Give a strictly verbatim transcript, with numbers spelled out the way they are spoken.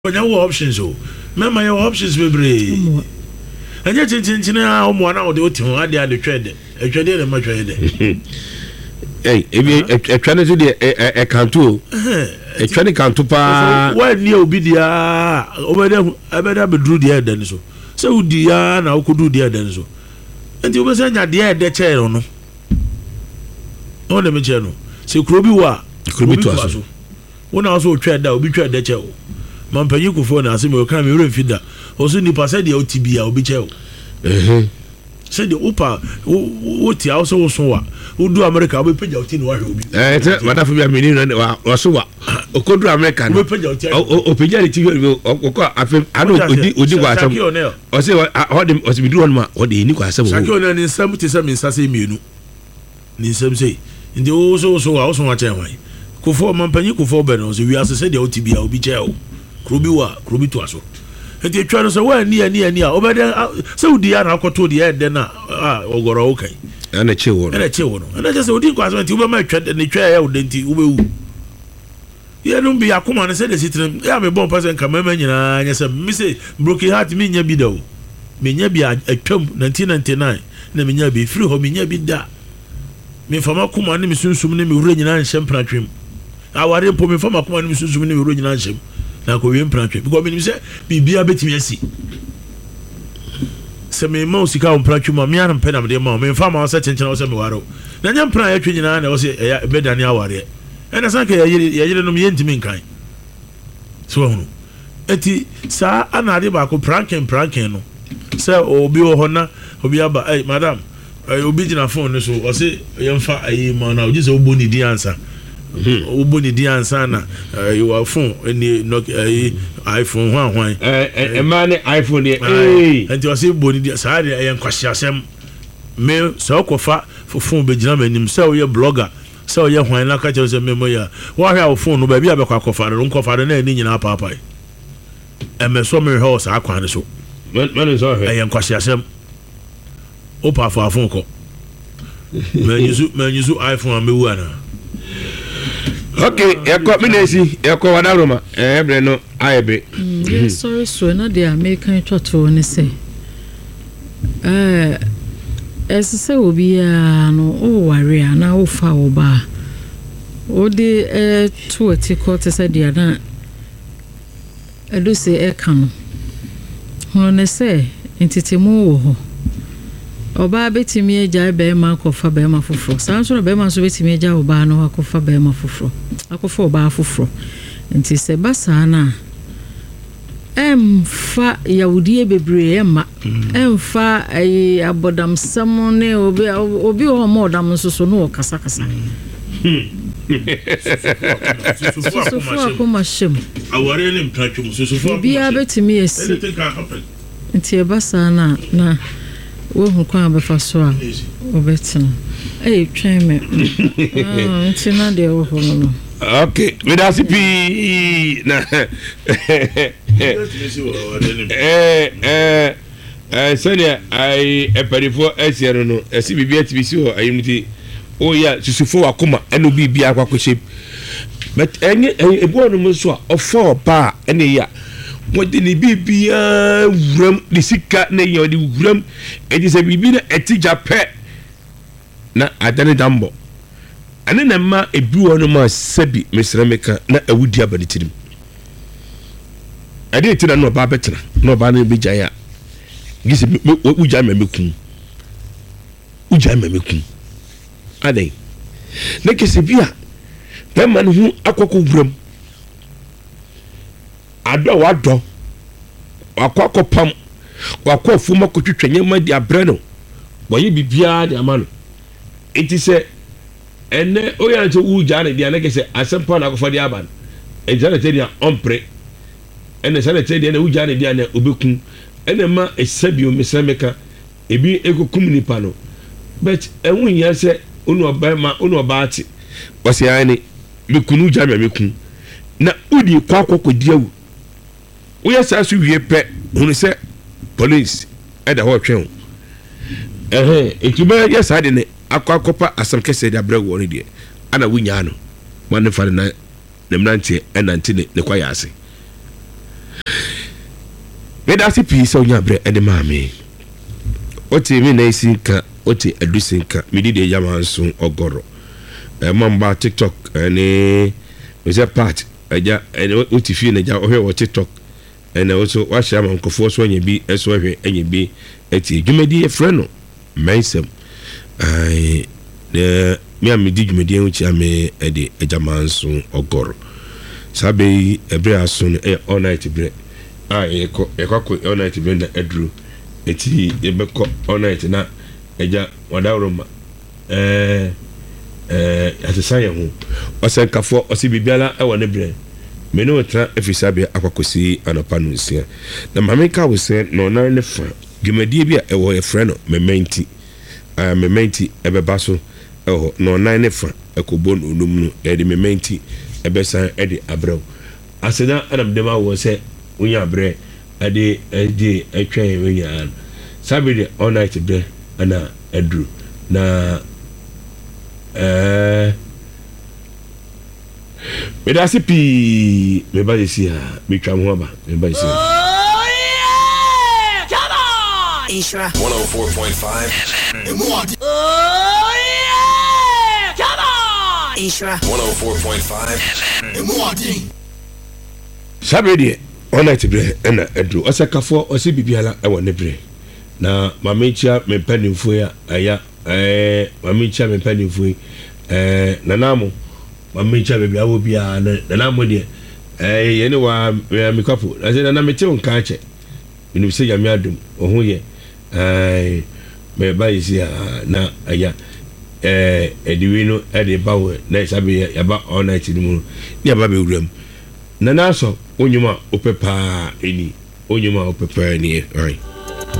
Ɔnya wɔ options o. Mɛma yɛ wɔ options bebree. Ɛnyɛ kyenkyenkyen a ɔmo ana ɔde wote ho adeɛ ade twɛ dɛ. Ɛtwɛ deɛ na ɛma twɛ yɛ dɛ. Ɛy ebi ɛtwa ne so deɛ ɛkanto o. Ɛtwa ne kanto paa. Wɔanni obi deɛ a ɔbɛdɛ ɛbɛdɛ abɛduru deɛ ɛdɛ no so. Sɛ wodi ya na wokɔduru deɛ ɛdɛ no so. Nti wobɛsɛ nya deɛ ɛdɛ kyɛɛ no. Wɔn na mekyerɛ no. Sɛ kuro bi wɔ a, kuro bi toa so. Wo na ɔsɛ otwa ɛda, obi twa ɛdɛ kyɛ wo. Mampanyin Kufuor na asɛm yi ɔka me werɛ mfi da. Ɔsɛ nipa sɛdeɛ wote bia obi kyɛ wo. Sɛdeɛ wopa wote a wosɛ woso wa. Wodu Amerika wobɛpagya wo ti na wahwɛ obi. Ɛɛ sɛ madafo bi a mene no ɔso wa. Ɔkɔduru Amerika no. Wobɛpagya wo ti ahwɛ. Ɔpagya ne ti hwɛ ɔkɔ afei ano odi odi kɔ asɛm. Ɔsɛ ɔde ɔsɛ biduru hɔ nom a ɔde ɛni kɔ asɛm. Shaquille O'Neal ne nsam te sɛ me nsa sɛ mmienu. Ne nsam sei. Nti wo so so a woso akyɛn hwan? Kufuor, ɔmampanyin Kufuor bɛ no sɛ wiase sɛdeɛ wote bia obi kyɛɛ wo. Kuro bi wɔ a, kuro bi toa so. Nti etwa no sɛ woanni anni anni a wobɛdɛn sɛ wodi a na akɔto deɛ ɛdɛ no a ɔgɔrɔ wo kan. Ɛna ɛkye wo no. Ɛna ɛkye wo no. Ɛna kyɛ sɛ wodi nkwaasɛm nti wobɛma etwa ne twa ɛyɛ wo dɛ nti wobɛwu. Yɛnom bi akoma no sɛdeɛ si tena yɛ a mebɔ mpa sɛ nka mmarima nyinaa nyɛ sɛ me se broken heart menya bi da o. Menya bi atwam nineteen ninety-nine na menya bi firi hɔ, menya bi da. Memfa m'akoma ne me sunsum ne me werɛ nyinaa nhyɛ mpenatwem. Aware mpo, memfa m'akoma ne me sunsum ne me werɛ nyinaa nhyɛm na akɔwie mpenatwem, because menim sɛ biribiara bɛtumi asi. Sɛ mema wo sika wɔ mpenatwem a, mea mpɛ na mede ma wo. Memfa ma wo sɛ kyenkyena wo sɛ meware wo na nyɛ mpena a yɛtwe nyinaa na ɛwɔ sɛ ɛyɛ bɛdane awareɛ. Ɛna san ka yɛyerenom yɛntumi nkan sɛ wahunu. Eti saa ana ade baako, pranking pranking no, sɛ obi wɔ hɔ na obi aba, "Ɛy madam," ɛy obi gyina phone no so, ɔse yɛmfa ayi ma na ogye sɛ wobɔ ne din ansa, wobɔ ne din ansa na ɛyi wɔ phone ɛni Nokia, ɛyi iPhone hwan hwan. Ɛɛ mmaa ne iPhone deɛ ee. Nti ɔse bɔ ne din saa deɛ, ɛyɛ nkwasiasɛm. Me sɛ ɔkɔfa phone bɛgyina m'anim sɛ ɔyɛ blogger, sɛ ɔyɛ hwan, na ka kyerɛ sɛ mmɛmɔ yi a wɔahwɛ a wo phone no baabi a bɛkɔ akɔfa no, nkɔfa no na ɛni nyinaa paapae. Ɛmɛ sɔ mehwɛ wɔ saa kwan no so. Mɛne nsɔ hwɛ. Ɛyɛ nkwasiasɛm. Wopa afa phone kɔ, manyusu manyusu iPhone a, mɛwu anaa? Ok, yɛkɔ me na esi yɛkɔ wadaroma ɛɛ brɛ no ayɛ be. Yɛsɔre so na deɛ a meka twa toɔ ne sɛ ɛɛ ɛsɛ sɛ obiara no woware a na wofa wo ba a wode ɛto ati kɔ te sɛ deɛ na ɛdo sɛ ɛka no hunu ne sɛ ntetemu wɔ hɔ. Ɔbaa bɛtumi agyae bɛrima akɔfa bɛrima foforɔ, saa nso na bɛrima nso bɛtumi agya ɔbaa no akɔfa bɛrima foforɔ, akɔfa ɔbaa foforɔ. Nti sɛ ba saa no a, ɛmfa yawudie bebree, ɛmma ɛmfa ɛyi abɔdamsɛm ne obi obi wɔ hɔ ɔmo ɔdam nso so no wɔ kasakasa. Susufo akoma hyɛ mu. Awareɛ ne mpratwom susufo akoma. Biribiara bɛtumi asi. Anything can happen. Nti ɛba saa no a, na woahu kwan a bɛfa so a wobɛtena. Ɛyɛ twɛn me. Ah, nti na deɛ wɔ hɔ no no Ok, meda ase pii na Bɛtumi si wɔ awareɛ ne ɛɛ ɛɛ ɛɛ sɛdeɛ ayi mpanimfoɔ asia no no ɛsi biribi atumi si hɔ ayi mu ti oyɛ a susufo wakoma ɛna obi bi akɔ akɔhyɛ mu, but ɛnyɛ ɛyɛ ebi wɔ nom nso a ɔfa ɔbaa ɛna ɛyɛ a wɔde ne biribiara wuram, ne sika na ɛyɛ ɔde wuram. Ɛti sɛ biribi na ɛti gya pɛ na adane dambɔ ɛne na mma ebi wɔ nom a sɛbi mesrɛ meka na awudi aba ne tirim. Ɛde ti na na ɔbaa bɛtena na ɔbaa no bɛgyae a gye sɛ wogyae ma mɛkum, wogyae ma mɛkum adɛn na kɛsɛ bi a bɛrima no ho akɔkɔ wuram adɔ a wadɔ wakɔ akɔpam, wakɔ afuom akɔtwitwa nneɛma de abrɛ no, wɔyɛ biribiara de ama no. Nti sɛ ɛnɛ oyɛ no sɛ wogyaa no deɛ na kɛsɛ asɛm pa na akɔfa de aba no. Nti saa na ɛkyɛ deɛ ɔmpere ɛna saa na ɛkyɛ deɛ na wogyaa no deɛ na obɛkum ɛna ma ɛsɛ bio. Mesrɛ meka ebi ekokum nipa no, but ɛho hia sɛ onu ɔbɛrima onu ɔbaa te ɔsɛ ayɛ ne mekunu gya me meku na wodi kɔ akɔ kɔdi awu. Woyɛ saa so wie pɛ, hunu sɛ police ɛda hɔ ɔtwɛn o. Ɛhɛn nti wobɛyɛ saa de ne akɔ akɔpa asɛm kɛseɛ de abrɛ wɔ no deɛ ana wonyaa no ma ne fa ne nan ne mmeranteɛ ɛnante ne ne kwaeɛ ase. Meda ase pii sɛ wonya berɛ de maa me. Wote me nan si nka, wote adusi nka, medi deɛ yama nso ɔgɔrɔ. Ɛma mba TikTok ɛne mesɛ part agya ɛne wote fie na agya wohwɛ wɔ TikTok ɛna wo so wahyɛ ama nkurɔfoɔ so anya bi ɛso ahwɛ anya bi ɛtie. Dwumadie yɛfrɛ no Mmɛnsɛm. Ae, na me a medi dwumadie ho kyia me ɛde agya manso ɔgɔrɔ. Saa bɛ yi ɛberɛ aso no ɛyɛ all night berɛ a yɛkɔ yɛkɔ akɔ all night berɛ na aduru. Eti yɛbɛkɔ all night na agya wadaworo ma ɛɛ ɛɛ yɛasesa yɛn ho. Ɔsɛnkafoɔ ɔsi biribiara ɛwɔ ne berɛ. Me ne wo tena efiri saa berɛ akɔ akɔsi anɔpa no nsia. Na maame ka wo sɛ nɔnan ne fa dwumadie bi a ɛwɔ yɛfrɛ no Mementi. Uh, Mementi ɛbɛba so ɛwɔ hɔ nɔnan ne fa ɛkɔbɔ no onum no yɛde Mementi ɛbɛsan ɛde abrɛw. Aseda ɛna mede ma wɔ sɛ wonya abrɛ ɛde ɛde ɛtwɛn wɔn nyinaa no. Saa bere deɛ all night berɛ ɛna aduru na ɛɛ meda ase pii. Meba yɛsi a metwa mo ho aba, meba yɛsi a. Oh yeah! Come on! Nhyira. one oh four point five. Oh yeah! Come on! Nhyira. one oh four point five. Saa bere deɛ all night berɛ ɛna aduru. Ɔsɛkafoɔ ɔsɛ biribiara ɛwɔ ne berɛ na maame nkyia me mpanimfoɔ yi a ɛya ɛɛ maame nkyia me mpanimfoɔ yi, ɛɛ nanamo maame nkyia baabi a wɔ biara na nanamo deɛ ɛɛ yɛne wa mɛ mekapo na sɛ nana mete wo nka akyɛ, menim sɛ Nyame adom wo ho yɛ. Ɛɛ mɛba yi si a na ɛya ɛɛ ɛde wei no ɛde ba wɔ na saa bere yɛ yaba all night no mu no ne yaba bɛwura mu. Nana asɔ wo nnwom a wopɛ paa ɛni, wo nnwom a wopɛ paa ni ɛ.